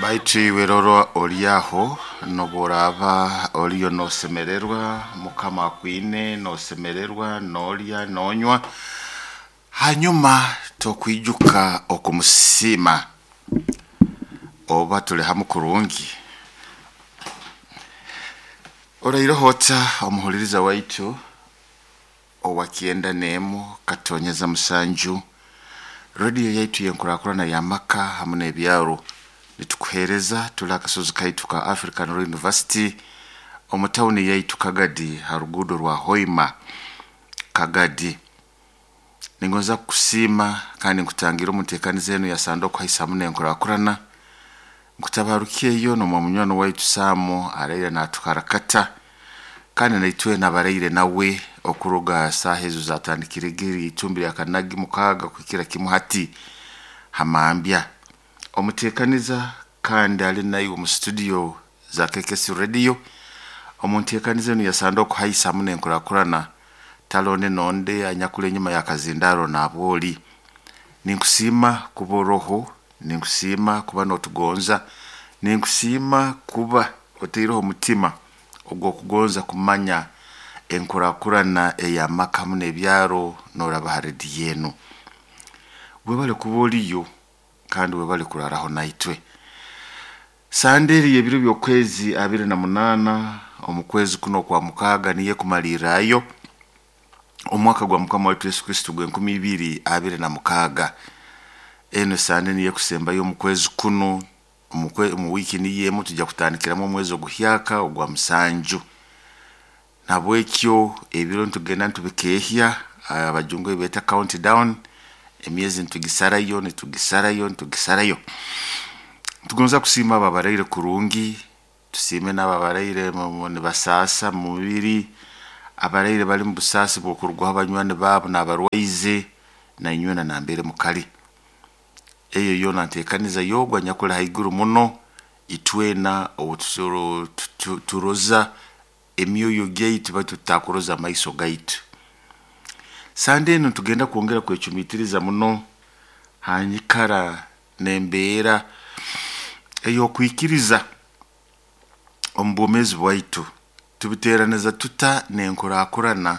Baitu iwe rora oli aho nobworaaba oliyo nosemererwa, Mukama akwine nosemererwa, nolya, nonywa, hanyuma tokwijuka okumusiima oba tuli hamu kurungi. Oraireho ota omuhuliriza waitu owa 91.7 rediyo yaitu yenkurakurana y'amaka hamu n'ebyaro. Nitukuheereza tuli akasozi kaitu ka African Royal University omu tawuni yaitu Kagadi ha ruguudo rwa Hoima Kagadi. Ningonza kukusiima kandi nkutangira omu nteekaniza enu ya Sande okuhaisa hamu n'enkurakurana. Nkutabaruka nomwa munywani waitu Sam araire natuharakata kandi naitwe nabaraire nawe okuruga saaha ezo zatandikire itumbi lya kanagi mukaaga kuhikira kimu hati hamambya. Omuteekaniza kandi ali naiwe omu studio za KKC Radio omu nteekaniza enu ya Sande okuhaisa hamu n'enkurakurana talonde nonde anyakuli enyuma y'akazindaro naabwoli. Ninkusiima kuba oroho, ninkusiima kuba notugonza, ninkusiima kuba otaireho omutima ogw'okugonza kumanya enkurakurana ey'amaka hamu n'ebyaro noraba ha rediyo enu. Webale kuba oliyo kandi webale kuraraho naitwe. Sande eri y'ebiro by'okwezi 28 omu kwezi kuno okwa mukaaga niyo ekumalirrayo omwaka gwa Mukama waitu Yesu Kristo gw'e2026. Enu Sande niyo ekusembayo omu kwezi kunu, omu wiiki niyo emu tujja kutandikiramu omwezi oguhyaka ogwa musanju. Nahabwekyo ebiro nitugenda nitubikeehya, abajungu ebi beeta count down, emyezi nitugisarayo, nitugisarayo, nitugisarayo. Nitugonza kusiima abo abaraire kurungi, tusiime n'abo abaraire nibasaasa mu mubiri, abaraire bali mu busaasi bw'okurugwaho banywani baabo n'abarwaize, nainywena nambere mukali. Eyo yoona nteekaniza y'ogu anyakuli haiguru muno, itwena ou turoza emyoyo gyaitu baitu tutakuroza amaiso gaitu. Sande enu nitugenda kwongera kwecumiitiriza muno ha nyikara n'embeera ey'okwikiriza omu bwomeezi bwaitu. Tubiteeraniza tuta n'enkurakurana?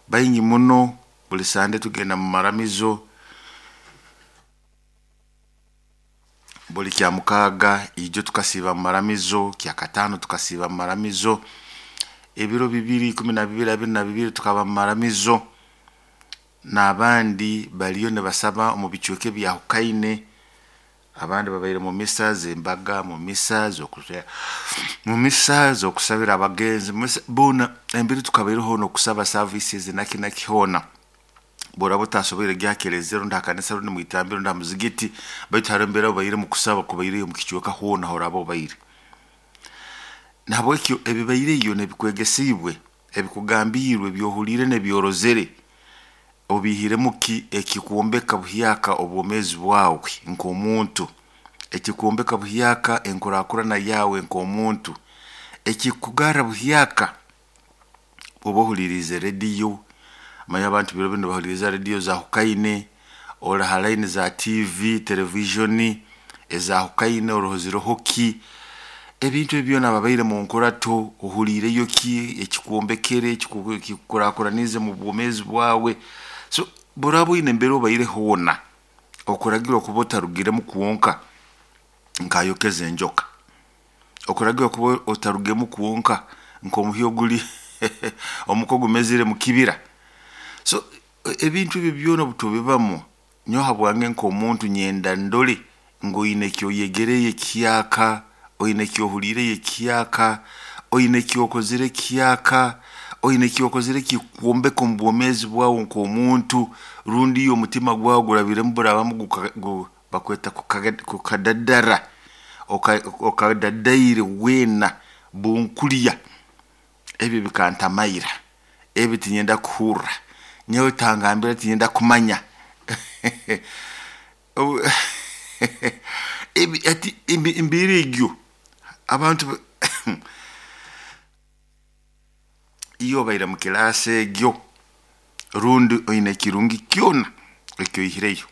Baingi muno buli Sande tugenda mu maramizo, buli kyamukaaga ijo tukasiiba mu maramizo, kyakataano tukasiiba mu maramizo, ebiro bibiri, 12, 22 tukaba mu maramizo, n'abandi baliyo nibasaba omu bicweka ebyahukaine, abandi babaire mu misa z'embaga, mu misa mu misa z'okusabira abagenzi, boona embera tukabaireho n'okusaba services naki naki hoona. Bworaba otasoboire kugya ha kereziya rundi ha kanisa rundi mwitambiro rundi ha muzigiti, baitu haroho embeera obaire mukusaba kubaireyo omu kicweka hoona horaba obaire. Nahabwekyo ebibaireyo n'ebikwegesiibwe, ebikugambiirwe, ebyohuliire n'ebyorozere, obiihiremu ki ekikwombeka buhyaka obwomeezi bwawe nk'omuntu, ekikwombeka buhyaka enkurakurana yaawe nk'omuntu, ekikugarra buhyaka oba ohuliiriize rediyo, manya abantu biro binu nibahuliriza rediyo zahukaine, ori ha line za TV, televijoni ezahukaine oroho ziroho ki, ebintu ebi byona ababaire mu nkurato ohuliireyo ki ekikwombekere, ekikukurakuraniize mu bwomeezi bwawe. So bworaba oine embera obaire hoona, okuragirwa kuba otarugiremu kwonka nk'ayokeze enjoka, okuragirwa kuba otarugemu kwonka nk'omuhi oguli omuka ogumezire mu kibira. So ebintu ebi byona obu tubibamu, nyowe habwange nk'omuntu nyenda ndole ngu oine eki oyegereyo ekihyaka, oine eki ohuliireyo ekihyaka, oine eki okozere ekihyaka, oine eki okozere ekikukwombeka omu bwomeezi bwawe nk'omuntu, rundi iwe omutima gwawe gurabiremu burabamu bakweta kukadadara, okadadaire weena bunkulya, ebi bikantamaira, ebi tinyenda kuhurra, nyowe tangambira tinyenda kumanya. Ebi hati embeera egyo abantu iwe obaire mu kiraasi egyo rundi oine ekirungi kyona eki oihireyo.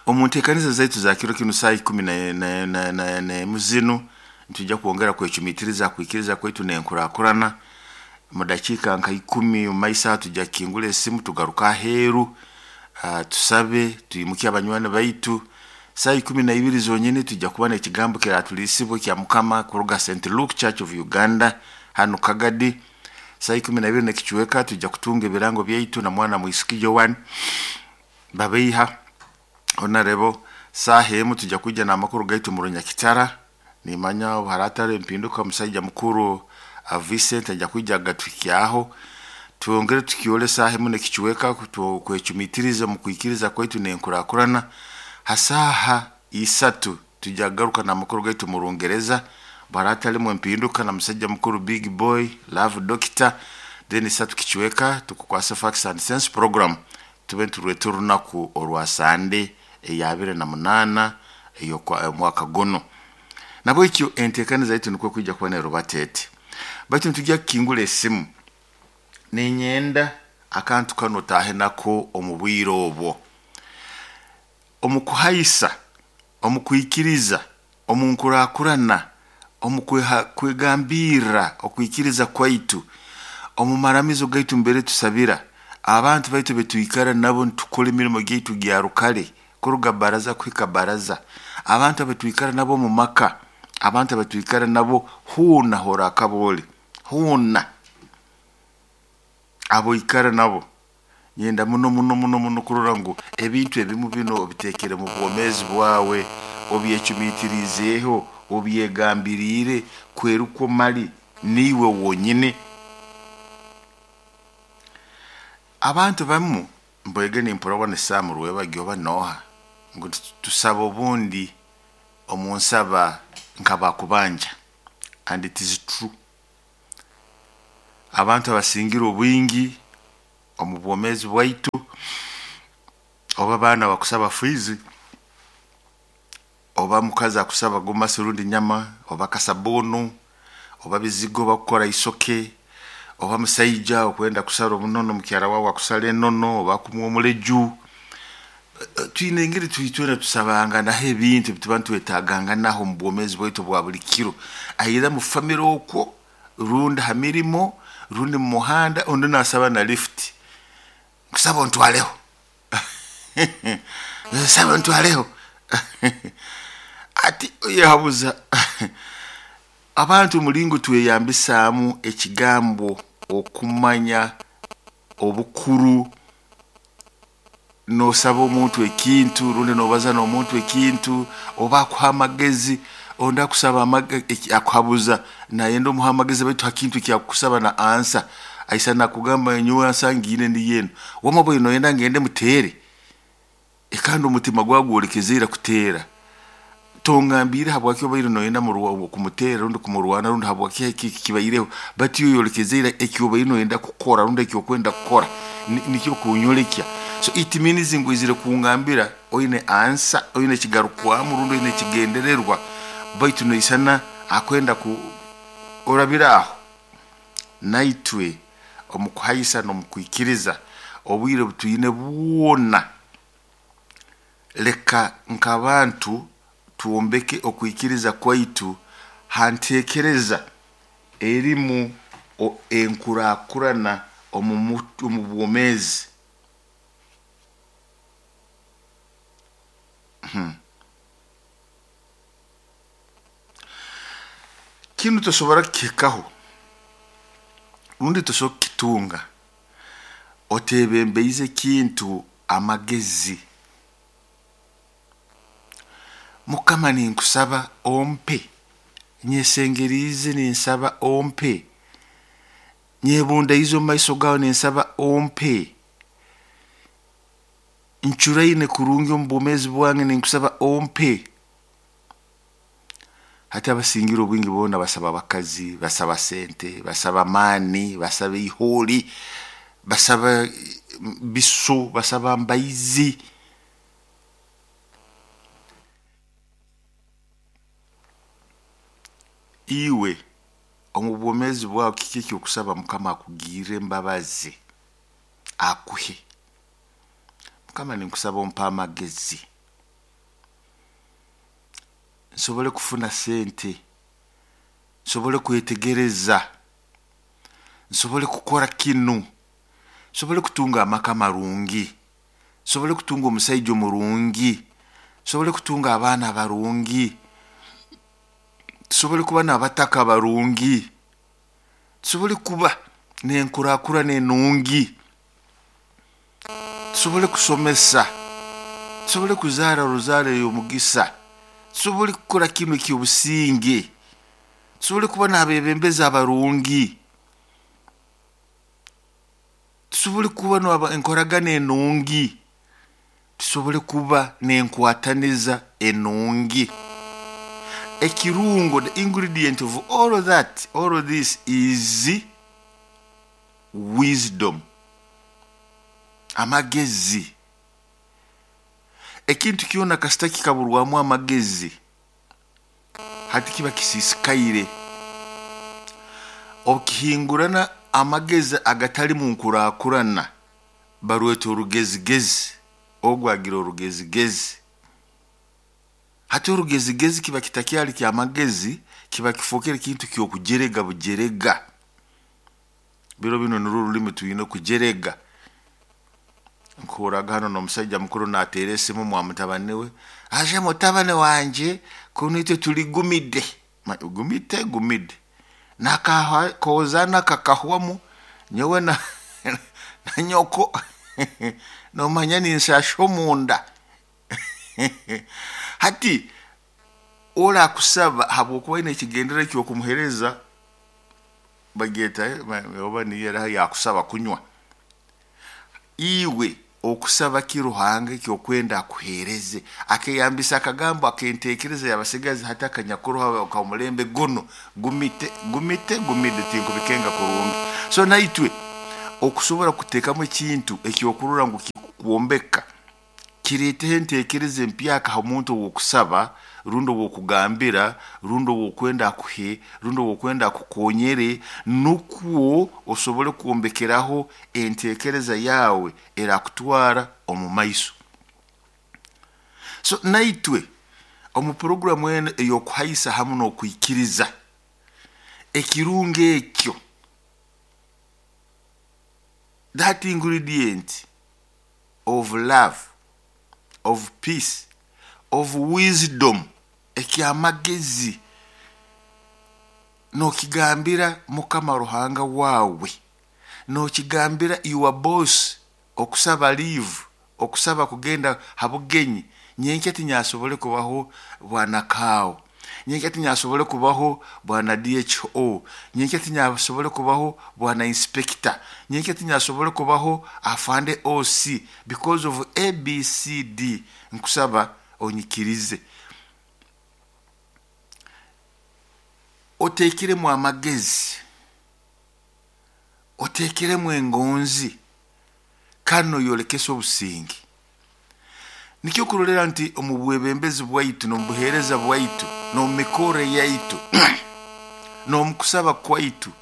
Omu nteekaniza zaitu za kiro kinu saaha ikumi n'emu zinu nitwija kwongera kwecumiitiriza kwikiriza kwaitu n'enkurakurana. Mu dakiika nka 10 omu maiso aho tujja kukingura esimu tugaruke aheeru, tusabe, twimukye abanywani baitu. Saaha 12 zonyini tujja kuba n'ekigambo kiratuliisibwa ekya Mukama kuruga St. Luke Church of Uganda hanu Kagadi. Saaha 12 n'ekicweka tujja kutunga ebirango byaitu na mwana mwisiki Joan Babeiha Honorable. Saaha 1 tujja kwija n'amakuru gaitu mu Runyakitara. Nimanya obu haraataro empinduka omusaija mukuru Vincent ajja kwija agatuhikyaho. Twongere tukyole saaha 1 n'ekicweka kwecumiitiriza omu kwikiriza kwaitu n'enkurakurana. Ha saaha 3 tujja kugaruka n'amakuru gaitu mu Rungereza. Baraatalimu empinduka na musaija mukuru Big Boy Love Doctor. Then 3 kicweka tukukwasa Facts and Sense program, tube nitureeta orunaku orwa Sande eya 28 ey'omwaka guno. Nabwekyo enteekaniza yaitu nikwo kwija kuba nerubata eti. Baitu nitujja kukingura esimu. Ninyenda akantu kanu otaahe nako omu bwire obwo. Omu kuhaisa, omu kwikiriza, omu nkurakurana, omu kwegambirra okwikiriza kwaitu, omu maramizo gaitu mbere tusabira, abantu baitu betwikara nabo nitukora emirimo gyaitu gya rukare, kuruga baraza kuhika baraza, abantu abatwikara nabo omu maka, abantu abatwikara nabo hoona horakaba oli, hoona aboikara nabo. Nyenda muno muno muno muno kurora ngu ebintu ebimu bino obitekere mu bwomeezi bwawe, obyecumiitirizeeho, obyegambiriire, kwerukwo mali niiwe wonyini. Abantu bamu mbwege nimpurabwa ni Sam Rwebagyo oba nooha ngu tusaba obundi omu nsaba nk'abakubanja, and it is true. Abantu abasingire obwingi omu bwomeezi bwaitu, oba abaana bakusaba fiizi, oba mukazi akusaba gomasi rundi nyama, oba kasabuunu, oba bizigo bakukora isoke, oba musaija okwenda kusara obunono mukyara wawe akusara enono, oba akumuha omuleju. Twine engeri twena tusabanganaho ebintu ebituba nitwetaaganganaho omu bwomeezi bwaitu obwa buli kiro. Aira mu famire okwo, rundi ha mirimo, rundi mu muhanda, ondi naasaba na lift. Nkusaba ontwaleho. Nsaba ontwaleho. Ati oyehabuza abantu omulingo tweyambisaamu ekigambo okumanya obukuru. Noosaba omuntu ekintu rundi noobaza n'omuntu ekintu, oba akuha amagezi, ondi akusaba akuhabuza nayenda omuhe amagezi baitu ha kintu ekyakukusaba na ansa aisa nakugamba nyowe ansa ngiine niyo enu. Wama bwe noyenda ngende muteere, kandi omutima gwawe gwolekezeire kuteera. Tongambiire habwaki obaire noyenda kumuteera rundi kumurwana rundi habwaki eki kibaireho, baitu iwe oyolekezeire eki obaire noyenda kukora rundi eki okwenda kukora nikyo kunyolekya. So it means ngu oizire kungambira oine ansa, oine ekigarukwamu rundi oine ekigendererwa, baitu noisana akwenda ku orabire aho. Naitwe omu kuhaisa n'omu kwikiriza obwire obutwine bwona, leka nk'abantu twombeke okwikiriza kwaitu ha nteekereza erimu enkurakurana omu bwomeezi. Kinu tosobora kukihikaho rundi tosobora kukitunga oteebembeize ekintu amagezi. Mukama ninkusaba ompe, nyesengeriize ninsaba ompe, nyebundaize omu maiso gawe ninsaba ompe, ncuraine kurungi omu bwomeezi bwange ninkusaba ompe. Hati abasingire obwingi boona basaba abakazi, basaba sente, basaba amaani, basaba ihooli, basaba biso, basaba mbaizi. Iwe omu bwomeezi bwawe kiki ekyokusaba Mukama akugirre embabazi, akuhe? Mukama ninkusaba ompe amagezi. Nsobole kufuna sente, nsobole kwetegereza, nsobole kukora kinu, nsobole kutunga amaka marungi, nsobole kutunga omusaija omurungi, nsobole kutunga abaana barungi, tusobole kuba n'abataka barungi, tusobole kuba n'enkurakurana enungi, tusobole kusomesa, tusobole kuzaara ruzaaro ey'omugisa, tusobole kukora kinu eky'obusinge, tusobole kuba n'abebembezi abarungi, tusobole kuba n'enkoragana enungi, tusobole kuba n'enkwataniza enungi. Ekirungo, the ingredient of all of that, all of this is wisdom, amagezi. Ekintu kyona kasita kikaburwamu amagezi, hati kiba kisisikaire. Okihingurana amagezi agatali mu nkurakurana, barweta orugezigezi, ogu agira orugezigezi. Hati orugezigezi kiba kitakyali kyamagezi, kiba kifookere kintu ky'okujerega bujerega. Biro binu nirwo orulimi twine kujerega. Nkuhurraga hano n'omusaija mukuru naateera esimu mwa mutabani we, aje mutabani wangye kunu itwe tuli gumide. Gumite gumide. Nakakozana kakahwamu nyowe na, na nyoko nomanya ninshasha omunda. Hati orakusaba habwokuba aine ekigendererwa eky'okumuheereza, bagyeta oba niyo eraha yakusaba kunywa. Iwe okusaba ki Ruhanga ekyokwenda akuheereze? Akeyambisa akagambo ak'enteekereza y'abasigazi hati akanyakuroho ak'omulembe gunu, gumite gumite gumide tinkubikenga kurungi. So naitwe okusobora kuteekamu ekintu ekyokurora ngu kikwombeka, kireeteho enteekereza empyaka ha muntu ow'okusaba, rundi ow'okugambira, rundi ow'okwenda akuhe, rundi ow'okwenda akukonyere, nukwo osobole kwombekeraho enteekereza yaawe erakutwara omu maiso. So naitwe omu puroguramu enu ey'okuhaisa hamu n'okwikiriza, ekirungo ekyo, that ingredient of love, of peace, of wisdom, ekyamagezi, nokigambira Mukama Ruhanga waawe, nokigambira your boss okusaba leave, okusaba kugenda ha bugenyi, nyenkya tinyasobole kubaho bwana Kaawo, nyenkya tinyasobole kubaho bwana DHO, nyenkya tinyasobole kubaho bwana inspector, nyenkya tinyasobole kubaho afande OC because of ABCD. Nkusaba onyikirize. Oteekiremu amagezi, oteekiremu engonzi, kandi noyolekesa obusinge. Nikyo kurolera nti omu bwebembezi bwaitu n'omu buheereza bwaitu n'omu mikorre yaitu n'omu kusaba kwaitu,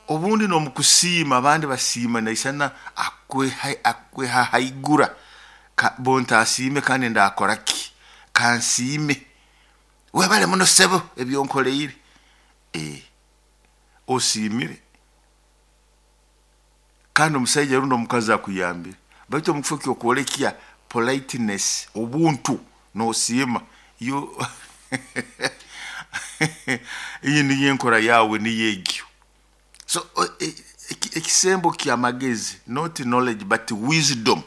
obundi n'omu kusiima, abandi basiima naisana akwehahaigura, bo ntaasiime kandi ndakora ki? Kansiime. Webale muno ssebo ebyonkoleire. Osiimire kandi omusaija rundi omukazi akuyambire, baitu omu kifo ky'okwolekya politeness, obuntu, noosiima, yo iyi niyo enkora yaawe niyo egyo. So ekisembo ky'amagezi, not knowledge but wisdom,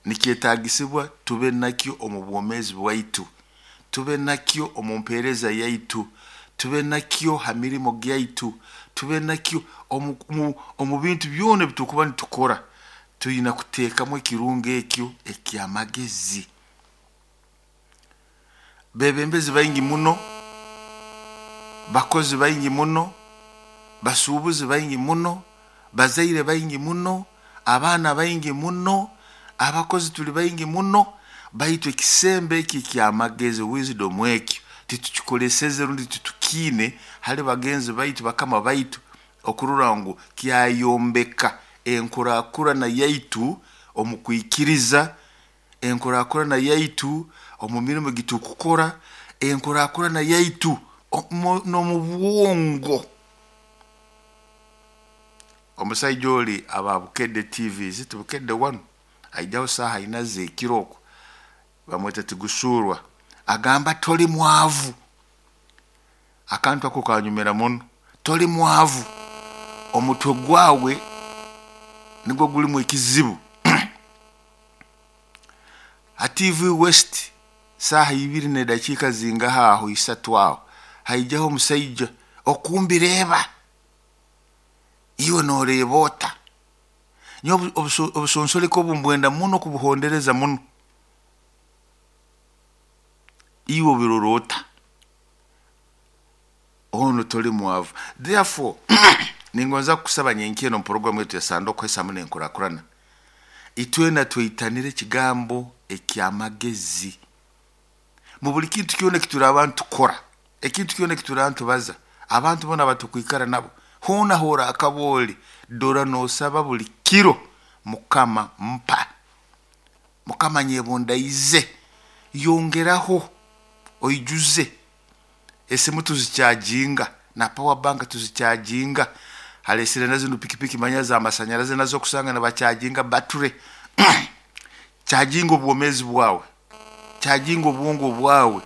nikyetaagisibwa tube nakyo omu bwomeezi bwaitu, tube nakyo omu mpeereza yaitu, tube nakyo ha mirimo gyaitu, tube nakyo omu bintu byona ebi turukuba nitukora, twina kuteekamu ekirungo ekyo eky'amagezi. Bebembezi baingi muno, bakozi baingi muno, basuubuzi baingi muno, bazaire baingi muno, abaana baingi muno, abakozi tuli baingi muno, baitu ekisembo eki eky'amagezi, wisdom ekyo, titukikoleseze rundi titukiine hali bagenzi baitu, bakama baitu, okurora ngu kyayombeka enkurakurana yaitu omu kwikiriza, enkurakurana yaitu Omu mirimo gitukukora, enkurakurana yaitu n'omu bwongo. Omusaija oli aba Bukedde TV, ziti Bukedde 1, aijaho saaha ina z'ekiro okwo, bamweta Tigusuurwa, agamba toli mwavu. Akantu ako kanyumira muno. Toli mwavu, omutwe gwawe nigwo gulimu ekizibu. Ha TV West saaha 2 n'edakiika zingaha aho, 3 aho, haijaho omusaija okumbireeba, iwe noreeba ota? Nyowe obusonsoleko obu mbwenda muno kubuhondereza muno. Iwe obirora ota? Ono toli mwavu. Therefore ningonza kukusaba nyenkya eno mu yetu ya Sanduku Hesamu n'enkurakurana, itwena tweitanire ekigambo eky'amagezi mu buli kintu kyona ekituri abantu tukora, ekintu kyona ekituri abantu tubaza, abantu bona abatukwikara nabo, hoona hoora akaba oli dora nosaba buli kiro, Mukama mpa, Mukama nyebundaize, yongeraho oijuze. Esimu tuzikyajinga na power bank tuzikyajinga, halesire na zinu pikipiki manya za masanyarazi nazo kusanga nibakyajinga bature. Kyajinga obwomezi bwawe, kyajinga obwongo bwawe,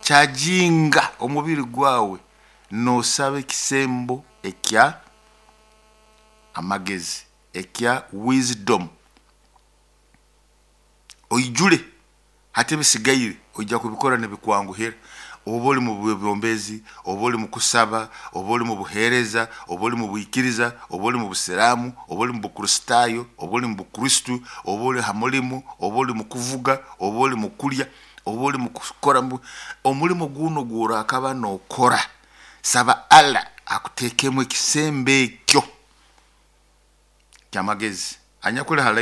kyajinga omubiri gwawe, nosaba ekisembo ekya amagezi, ekya wisdom, oijule. Hati ebisigaire ojja kubikora nibikwanguhira. Oba oli mu bwebyombezi, oba oli mu kusaba, oba oli mu buheereza, oba oli mu bwikiriza, oba oli mu busiraamu, oba oli mu bukristaayo, oba oli mu bukristu, oba oli ha mulimu, oba oli mu kuvuga, oba oli mu kulya, oba oli mu kukora omulimo guno gworakaba nokora, saba Allah akuteekemu ekisembo ekyo kyamagezi. Anyakuli ha line.